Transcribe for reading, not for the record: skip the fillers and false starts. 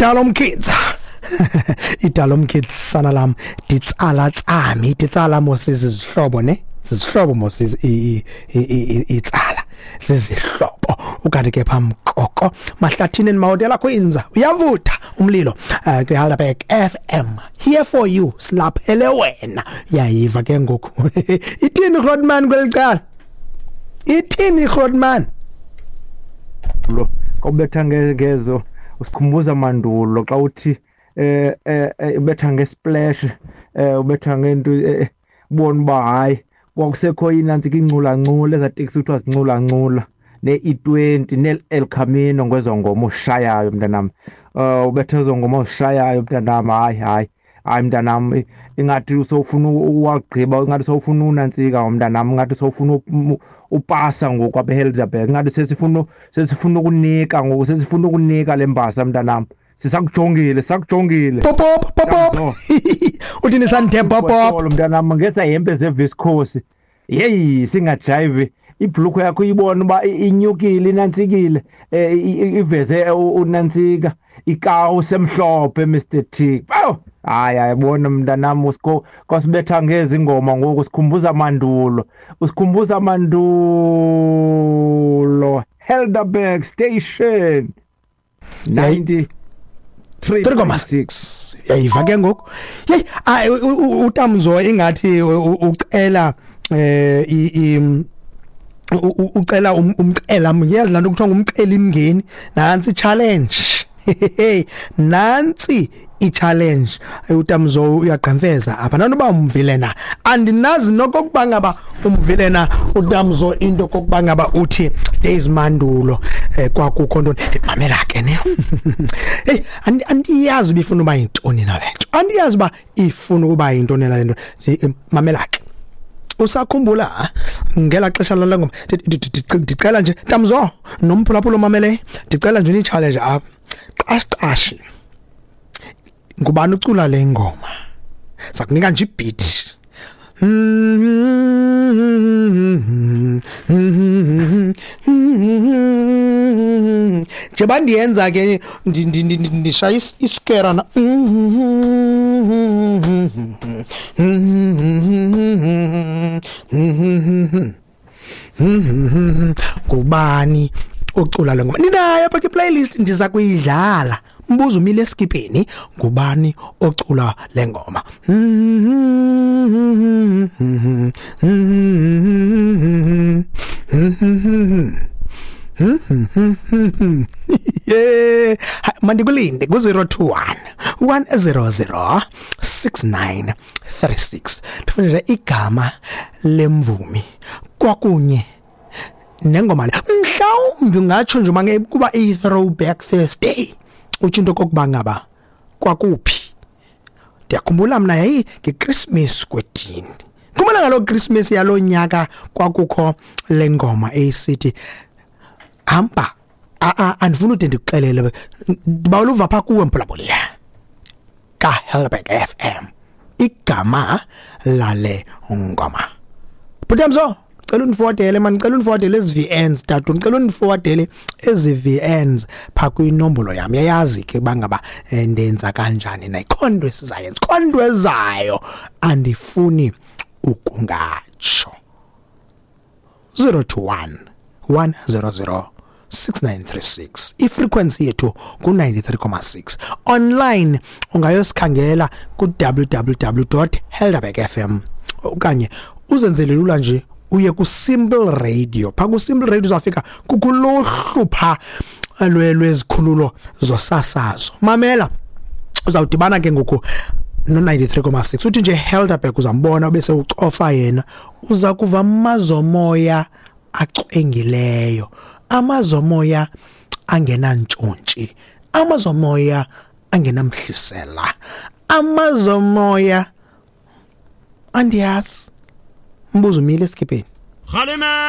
Dalom Kids, iDalom Kids, sana lam, ditsala tsami, ditsala mos izihlobo ne, zizihlobo mos, itsala zizihlobo. Ukanti ke pha Mkoko Mahlathini Mahotela Queens, uyavutha umlilo kwiHelderberg FM, here for you, silaphele wena. Uyayiva ke ngoku ithini Grootman kweli cala, ithini Grootman? Lo kawubetha ngezo usikhumbuza mandulo xa uthi ubetha ngesplash, ubetha ngento, ubona uba hayi, kwakusekho inantsika incula-ncula, ezaa teksi kuthiwa zincula-ncula, ne-E20 ne-El Camino, ngwezo ngoma ushayayo mntanam. Ubetha ezo ngoma uzishayayo mntanam, hayi hayi hayi mntanam, ingathi sowufuna uwagqiba, ingathi sowufuna unantsika mntanam, ingathi sowufuna upasa ngoku apha eHelderberg, ingathi sesifuna ukunika ngoku, sesifuna ukunika le mbasa mntanam, sisakujongile, sisakujongile. Popop popop, uthini santhe popop? Mntanam, ngeza hempe zeviscose, yeyi, singajayivi, ibhlukwe yakho uyibona uba inyukile, inantsikile, iveze unantsika ikawusi emhlophe, Mr T. Awu hayi, ayibona mntanam, usiko kwasibetha ngezi ngoma ngoku, sikhumbuza mandulo, usikhumbuza mandulo. Helderberg Station 93.6. Yayiva ke ngoku, yeyi, utamzo ingathi ucela ucela umcela, yazi laa nto kuthiwa ngumceli mngeni. Nantsi challenge, nantsi i-challenge. Utamzo uyagqemfeza apha, nanoba umvile na, andinazi nokokuba ngaba umvile na utamzo into kokuba ngaba uthi days mandulo, kwakukho ntoni. Mamela ke ne, hey, andiyazi uba ifuna uba yintoni na le nto, andiyazi uba ifuna ukuba yintoni na le nto. Mamela ke, usakhumbula ngela xesha lala ngoma? Ndicela nje Tamzo nomphulaphula omamele, ndicela nje ni-challenge apha, qashi qashi, ngubani ucula le ngoma? Sakunika nje ibeat. Njengoba ndiyenza ke, ndishaya iskera na, ngubani ocula le ngoma? Ninayo apha kwi-playlist, ndiza kuyidlala. Umbuzo umile eskipheni, ngubani ocula le ngoma? Yeah, mandikulinde ku-021 100 6936, ndifuna nje igama lemvumi kwakunye nengoma le. Mhlawumbi ungatsho nje mange kuba i-throwback Thursday, utsho into kokuba ngaba kwakuphi. Ndiyakhumbula mna yayi ngeChristmas kwedini, khumbula ngaloo Christmas yaloo nyaka kwakukho le ngoma eyisithi hamba. Andifuni ude ndikuxelele, ndibawela uva phaa kuwe mphulaphuli kaHelberg FM igama lale ngoma. Bhutamzo, cela undiforwardele man, cela undiforwardele ezi VNs tatu, ndicela undiforwardele ezi VNs phaa kwinombolo yam. Yayazi ke uba ngaba ndenza kanjani na, ikhona into esizayenza, ikhona into ezayo, andifuni ukungatsho. 021 100 6936, ifrequency yethu ku-93.6. Online ungayosikhangela ku-www.helderbergfm, okanye uzenzele lula nje uye ku-Simple Radio. Phaa ku-Simple Radio uzawufika kukuluhlu phaa lwezikhululo zosasazo. Mamela, uzawudibana ke ngoku no-93.6, uthi nje Helderberg, uzambona ubese ucofa yena, uza kuva amazomoya acwengileyo, amazomoya angenantshontshi, amazomoya angenamhlisela, amazomoya andiyazi. Umbuzo umile esikhipheni. Khalime.